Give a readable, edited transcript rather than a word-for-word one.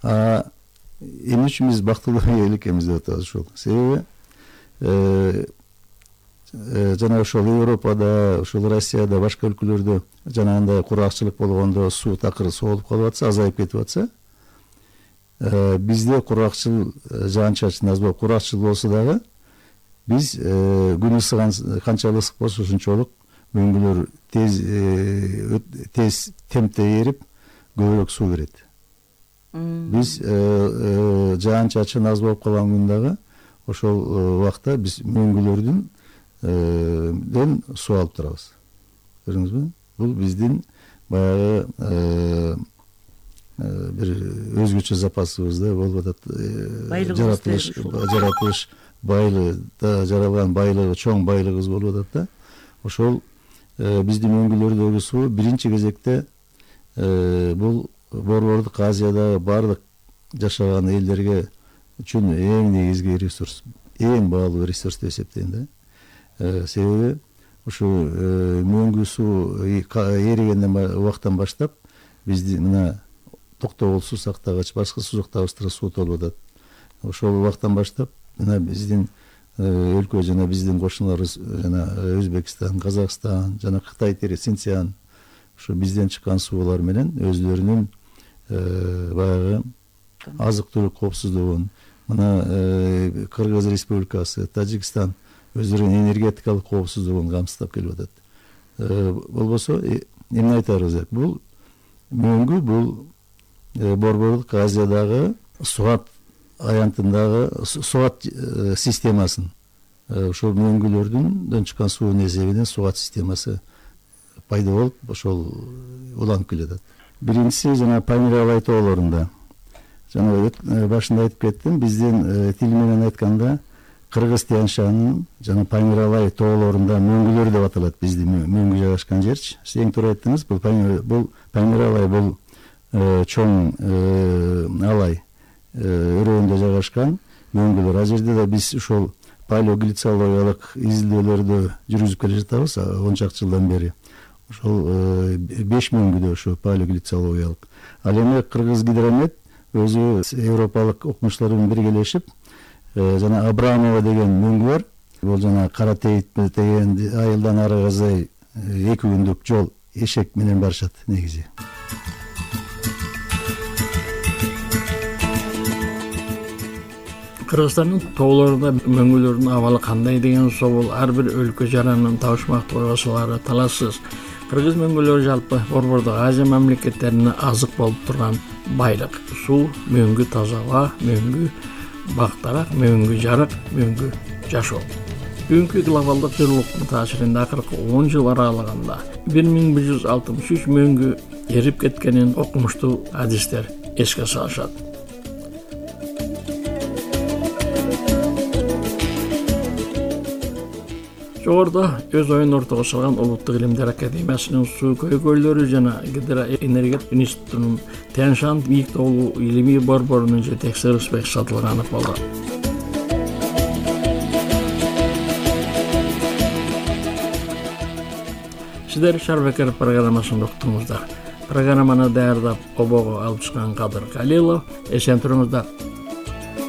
Эмне үчүн биз бактылуу эл экенбиз деп атабыз ушул. Себеби жана ошол Европада, ошол Россияда, башка өлкөлөрдө жанагындай кургакчылык болгондо суу такыр соолуп калып атса, азайып кетип атса, бизде кургакчыл, жаан-чачын аз болуп кургакчыл болсо дагы биз күн ысыган канчалык ысык болсо ошончолук мөңгүлөр тез темпте эрип көбүрөөк суу берет. Биз жаан-чачын аз болуп калган күн дагы ошол убакта биз мөңгүлөрдөн суу алып турабыз. Көрдүңүзбү? Бул биздин баягы бир өзгөчө запасыбызда болуп атат. Жаратылыш байлыгы жаралган байлыгы, чоң байлыгыбыз болуп атат да. Ошол биздин мөңгүлөрдөгү суу биринчи кезекте бул Борбордук Азиядагы баардык жашаган элдерге үчүн эң негизги ресурс, эң баалуу ресурс деп эсептейм да. Себеби ушу мөңгү суу эригенден убактан баштап биздин мына Токтогул суу сактагач, башка сузактагыбызга суу толуп атат. Ошол убактан баштап мына биздин өлкө жана биздин кошуналарыбыз жана Өзбекстан, Казакстан жана Кытай тери Синцзян ушу бизден чыккан суулар менен өзлөрүнүн баягы азык-түлүк коопсуздугун, мына Кыргыз Республикасы, Тажикстан өздөрүнүн энергетикалык коопсуздугун камсыздап келип атат. Болбосо эмне айтарыбыз? Бул мөңгү бул Борбордук Азиядагы суат аянтындагы суат системасын, ошол мөңгүлөрдөн чыккан суунун эсебинен суат системасы пайда болуп, ошол уланып келатат. Биринчиси жана Памир-Алай тоолорунда. Жана башында айтып кеттим, биздин тил менен айтканда Кыргыз Тянь-Шанын жана Памир-Алай тоолорунда мөңгүлөр деп аталат биздин мөңгү жайгашкан жерчи. Сиз эң туура айттыңыз, бул Памир-Алай бул чоң алай өрөөндө жайгашкан мөңгүлөр. А жерде да биз ушул палеоглицологиялык изилдөөлөрдү жүргүзүп келе жатабыз 10 чакты жылдан бери. Ошол 5 мөңгүдө ошо палеоглицологиялык. Ал эми Кыргыз Гидромет өзү европалык окумуштар менен биргелешип жана Абрамова деген мөңгү бар. Бул жана Кара Тейит деген айылдан арыгызай 2 күндүк жол эшек менен барышат негизи. Кыргызстандын тоолорунда мөңгүлөрдүн абалы кандай деген соол ар бир өлкө жаранын табышмактуу койгосулары талашсыз. Кыргыз мөңгүлөрү жалпы Борбордук Азия мамлекеттерине азык болуп турган байлык. Суу, мөңгү таза аба, мөңгү бактарак, мөңгү жарык, мөңгү жашоо. Бүгүнкү глобалдык жылуулуктун таасиринде акыркы 10 жыл аралыгында 1163 мөңгү эрип кеткенин окумуштуу адистер эске салышат. Жогоруда өз оюн ортого салган Улуттук илимдер академиясынын суу көйгөйлөрү жана Гидроэнергетика институтунун Тянь-Шань бийик тоолуу илимий борборунун жетекчиси Рысбек Сатылганов болду. Сиздер Шарбекер программасын уктуңуздар. Программаны даярдап обого алып чыккан Кадыр Калилов. Эсен туруңуздар.